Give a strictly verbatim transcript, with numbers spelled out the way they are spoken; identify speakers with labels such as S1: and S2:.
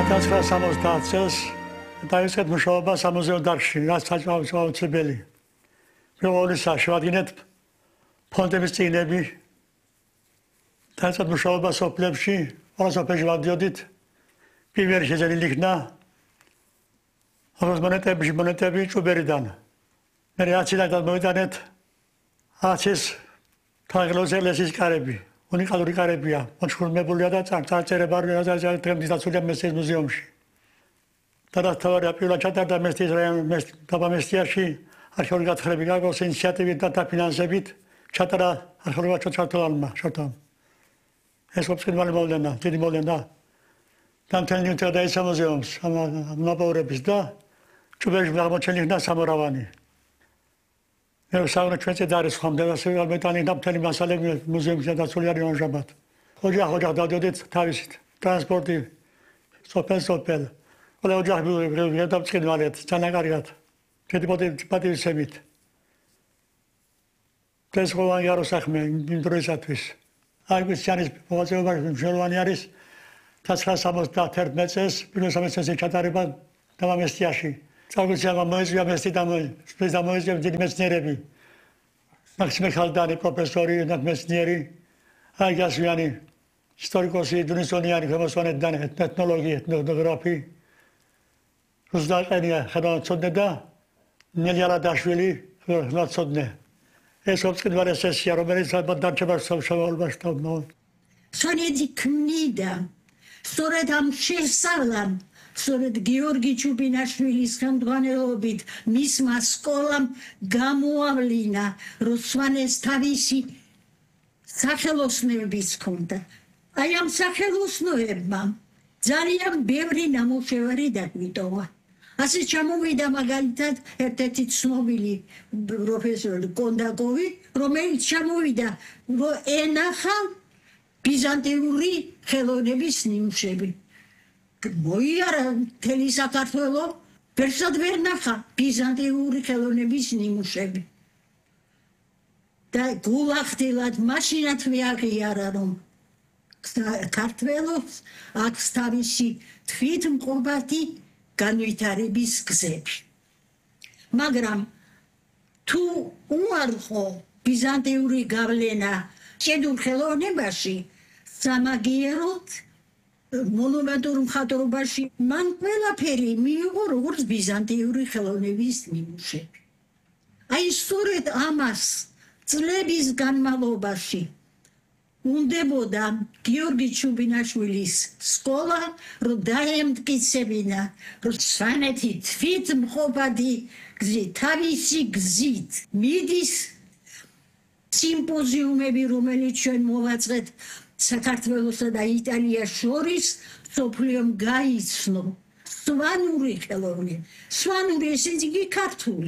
S1: ათას ცხრაასი სამოცდაათ წელს დაიწყეთ მუშაობა სამუზეო დარგში, რაც აუცილებელი. პირველისა შევადგინეთ ფონდების წიგნები. დაიწყეთ მუშაობა სოფლებში, ყველა სოფელში ვადიოდით. პირველი შეძენილი იქნა როგორც მონეტები, მონეტები ჭუბერიდან. მე რეაქცია გადმოვიტანეთ ათის თაღლოზელესის კარები. უნიკალური კარებია, მოჩხურმებულია და წარწერება დღემდე დაცულია მესტიის მუზეუმში. დადასტურდა პირველად ჩატარდა მესტიის რაიონის დაბამესტიაში არქეოლოგიური გათხრები გაგოს ინიციატივით და დაფინანსებით ჩატარა არქეოლოგია ჩოჩართულმა შოთამ. ეს ოფიციალური მოვლენა, დიდი მოვლენა. დამთელი ნიუტა დაიცა მუზეუმს, ამაპაურების და ჭუბერში აღმოჩენილი სამურავანი. მე ვსაუბრობ ჩვენზე და არის ხომ და მეტანი დამთელი მასალები მუზეუმში დაცული არის ამჟამად. ოჯახ ოჯახ დავდიოდით თავისით, ტრანსპორტი, სოფელ სოფელ. ყველა ოჯახი გადავწყვეტთ, ძალიან კარგად. დიდი პატივისცემით. ეს ყოველგვარი არ უსახმე იმ დროისათვის. აი ქრისტიანის მოღვაწეობაში მნიშვნელოვანი არის ათას სამოცდაათი წელს პირველ სამეცნიერო ჩატარება დაბამესტიაში. წარგუციანმა მოეწია მესტი და მოეწია დიდი მეცნიერები. მაქსიმე ხალდანი პროფესორი და მეცნიერი, აიგასვიანი, ისტორიკოსი, დუნისონიანი, ფემოსვანეთიდან ეთნოლოგი, ეთნოგრაფი. რუსდაყენია ხელმძღვანელი და ნელიარადაშვილი ხელმძღვანელი. ეს ოფიციალური სესია, რომელიც დარჩება სამშაბათში თავმოყრა.
S2: სონიძი ქმნიდა სწორედ ამ შესწავლამ სწორედ გიორგი ჩუბინაშვილის ხელმძღვანელობით მისმა სკოლამ გამოავლინა რომ სვანეს თავისი სახელოსნოებიც ჰქონდა. აი ამ სახელოსნოებმა ძალიან ბევრი ნამუშევარი დაგვიტოვა. ასე ჩამოვიდა მაგალითად ერთ-ერთი ცნობილი პროფესორი კონდაკოვი, რომელიც ჩამოვიდა რომ ენახა ბიზანტიური ხელოვნების ნიმუშები. მოიარა მთელი საქართველო, ვერსად ვერ ნახა ბიზანტიური ხელოვნების ნიმუშები. და გულახდილად მაშინაც მიაღიარა რომ საქართველოს აქვს თავისი თვითმყოფადი განვითარების გზები. მაგრამ თუ უარყო ბიზანტიური გავლენა ჭედურ ხელოვნებაში, სამაგიეროდ მონუმენტურ მხატვრობაში მან ყველაფერი მიიღო როგორც ბიზანტიური ხელოვნების ნიმუშები. აი სწორედ ამას წლების განმავლობაში უნდებოდა გიორგი ჩუბინაშვილის სკოლა, რომ დაემტკიცებინა, რომ სვანეთი თვითმყოფადი გზით, თავისი გზით მიდის სიმპოზიუმები, რომელიც ჩვენ მოვაწყეთ საქართველოსა და იტალიას შორის, მსოფლიომ გაიცნო სვანური ხელოვნება. სვანური ესე იგი ქართული.